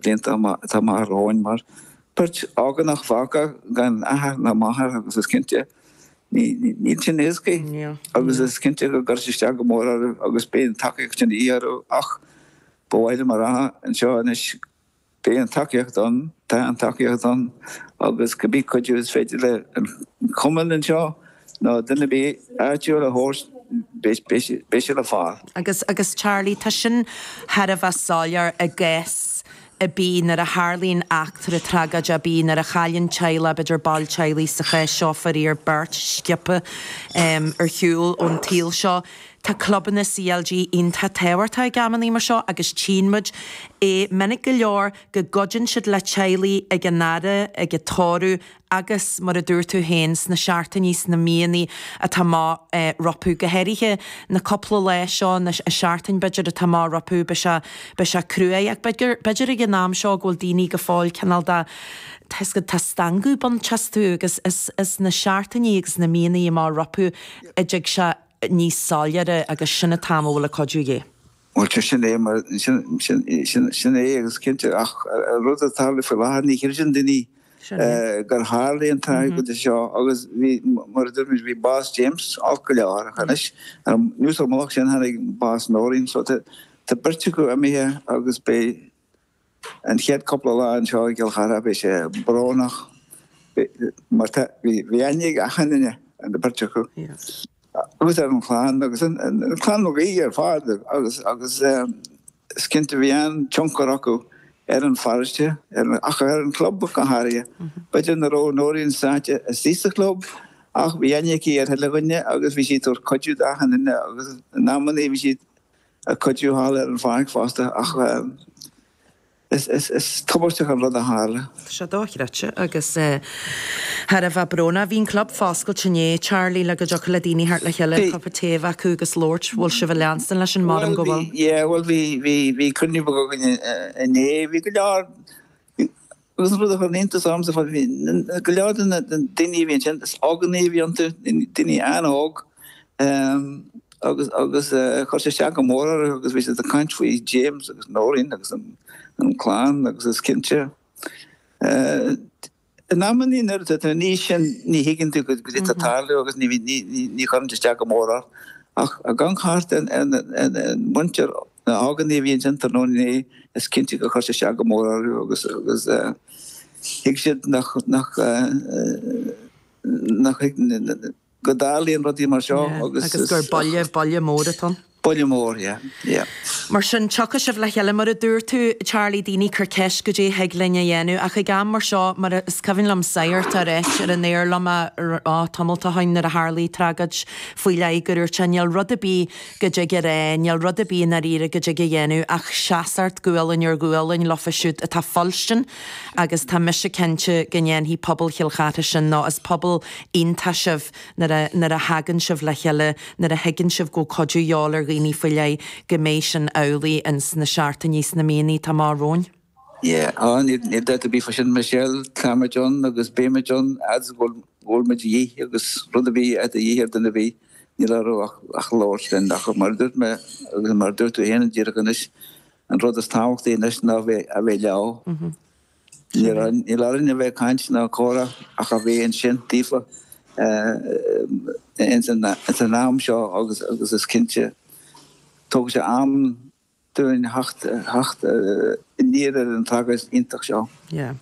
blianta atá amach romhainn mar beirt ógánach fágtha gan athair ná máthair agus is cinnte níl sin éasca agus is cinnte go gcuirfidh sé isteach go mór orthu agus beidh an tacaíocht sin de dhíth orthu ach ba mhaith liom a rá anseo anois Beidh an tacaíocht ann, tá an tacaíocht ann agus cibé cuidiú is féidir le an cumann anseo nó duine ar bith áitiúil a thabhairt, beidh sé le fáil. Agus, agus Charlie, tá sin thar a bheith soiléir i gcás ar bith nuair a tharlaíonn eachtra tragóideach ar bith, nuair a chailleann teaghlach, b'fhéidir ball teaghlaigh, sa chás seo faraor beirt sciobtha ar shiúl ón tsaol seo. Tá clubanna CLG iontach tábhachtach ag amannaí mar seo agus tchíonn muid é minic go leor go gcuidíonn siad le teaghlaigh ag an fhaire, ag an tórramh agus, mar a dúirt tú féin, sna seachtainí, sna míonna atá amach rompu. Go háirithe na cúpla lá seo, na seachtain b'fhéidir atá amach rompu, beidh sé, beidh sé cruaidh ach b'fhéidir, b'fhéidir ag an am seo go bhfuil daoine go fóill cineál de, tá 'fhios agat, tá stangadh ag baint astu agus is, is na seachtainí agus na míonna amach rompu a dtig sé níos soiléire agus sin an t-am a bhfuil an cuidiú de dhíth. Bhuel, sin é mar, sin é agus cinnte, ach an rud atá ag tarlú faoi láthair, ní chreideann daoine gur tharlaigh an tragóid seo agus bhí, mar a dúirt muid, bhí bás James olc go leor ach anois, anuas ar an mullach sin, tháinig bás Nóirín so tá beirt acu imithe agus beidh, An chéad cúpla lá anseo i gCill Chartha bhí sé brónach mar tá, bhí aithne ag achan duine ar an bheirt acu agus ar an chlann agus an clann Mhig Aoidh ar fad agus agus is cinnte bhí an-tionchar acu ar an pharóiste ach ar an chlub go háirithe. B'fhéidir nach raibh Nóirín sáite istigh sa chlub ach bhí aithne aici ar chuile dhuine agus bhí sí ag tabhairt cuidiú d'achan duine agus in amannaí bhí sí ag cuidiú thall ar an pháirc fosta ach is tubaisteach an rud a tharla. Tá sé dochreidte agus thar a bheith brónach. Bhí an club foscailte inné, Charlie, le go dtiocfadh le daoine theacht le chéile, cupa tae a bheith acu agus labhairt. Bhfuil sibh ag leanstan leis sin? Maram go bhfuil. Yeah, bhuel bhí, bhí, bhí cruinniú beag againn inné. Bhí go leor, Agus an rud a chuir iontas ormsa, bhí go leor de na daoine a bhí ansin, is óganaigh a bhí iontu, daoine an-óg, agus agus chuir sé isteach go mór orthu agus bhí siad ag caint faoi James agus Nóirín agus an clann agus is cinnte in amannaí nuair atá tú in aois sin ní thuigeann tú goidé atá ag tarlú agus ní ní chuireann sé isteach go mór ort ach ag amharc thart ar an muintir Na hóganaigh a bhí ansin tráthnóna inné, is cinnte gur chuir sé isteach go mór orthu agus agus thuig siad nach nach nach go dtarlaíonn rudaí mar seo agus Agus gur buille, buille mór atá ann. Buille mór, yeah, yeah. Mar sin, tiocfaidh sibh le chéile, mar a dúirt tú, Charlie, daoine ag cur ceist goidé thig linn a dhéanamh, ach ag am mar seo, mar is cuimhin liom sagart a ráit ar an aer liom á tamalt ó shin nuair a tharlaigh tragóid faoi leith gur dhúirt sé níl rud ar bith go dtig a rá, níl rud ar bith i ndáiríre go dtig a dhéanamh ach seasacht gualainn ar ghualainn leofa siúd atá fuilstin agus tá mise cinnte go ndéanfaidh pobal Chill Chartha sin nó is pobal iontach sibh nuair a, nuair a thagann sibh le chéile, nuair a thuigeann sibh go bhfuil cuidiú de dhíobháil ar dhaoine faoi leith, go mbeidh sin amhlaidh ins na seachtainí, sna míonna atá amach romhainn. Yeah, á, níl dabht ar bith fá sin, Michelle, táimid ann agus beimid ann, fhad is go bhfuil muid de dhíth agus rud ar bith atá de dhíth ar duine ar bith, níl orthu ach labhairt linn. Ach mar a dúirt mé, agus mar a dúirt tú féin díreach anois, an rud is tábhachtaí anois ná a bheith leo. Níl orainn a bheith ag caint ná comhrá ach a bheith ansin daofa ins an am seo agus is cinnte, tógfaidh sé am, dúinn theacht aniar ar an tragóid iontach seo. Yeah.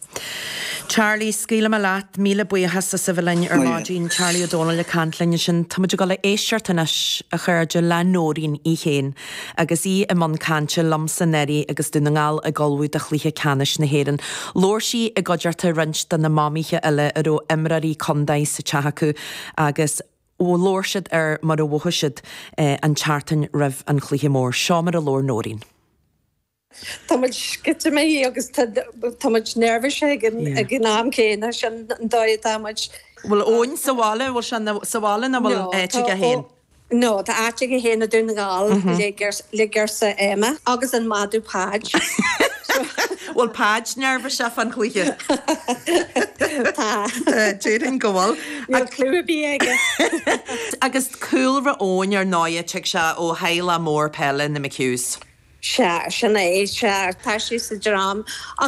Charlie, scaoilfidh mé leat. Míle buíochas as a bheith linn ar maidin. Charlie Ó Dónaill ag caint linn ansin. Tá muid ag dul a éisteacht anois, a chairde, le Nóirín í féin agus í i mbun cainte liomsa anuraidh agus Dún na nGall ag ullmhú do chluiche ceannais na hÉireann. Labhair sí i gcuideachta roinnt de na mamaithe eile a raibh imreoirí contae sa teach acu agus Labhair siad ar mar a mhothaigh siad an tseachtain roimh an chluiche mór. Seo mar a labhair Nóirín. Tá muid sceitimíneach agus tá muid neirbhíseach ag an am céanna, sin an dóigh atá muid. Bhfuil Eoin sa bhaile? Bhfuil sé sa bhaile nó bhfuil áit aige féin? No, tá áit aige féin i Dún na nGall le girseach Emma agus an madadh Páid. Bhfuil Páid neirbhíseach fán chluiche? Tá. Déarfainn go bhfuil. Níl clue ar bith aige. Agus cúlra Eoin ar ndóighe, tig sé ó theaghlach mór peile, na McHughs. Sea, sin é, sea, tá sé sa dream.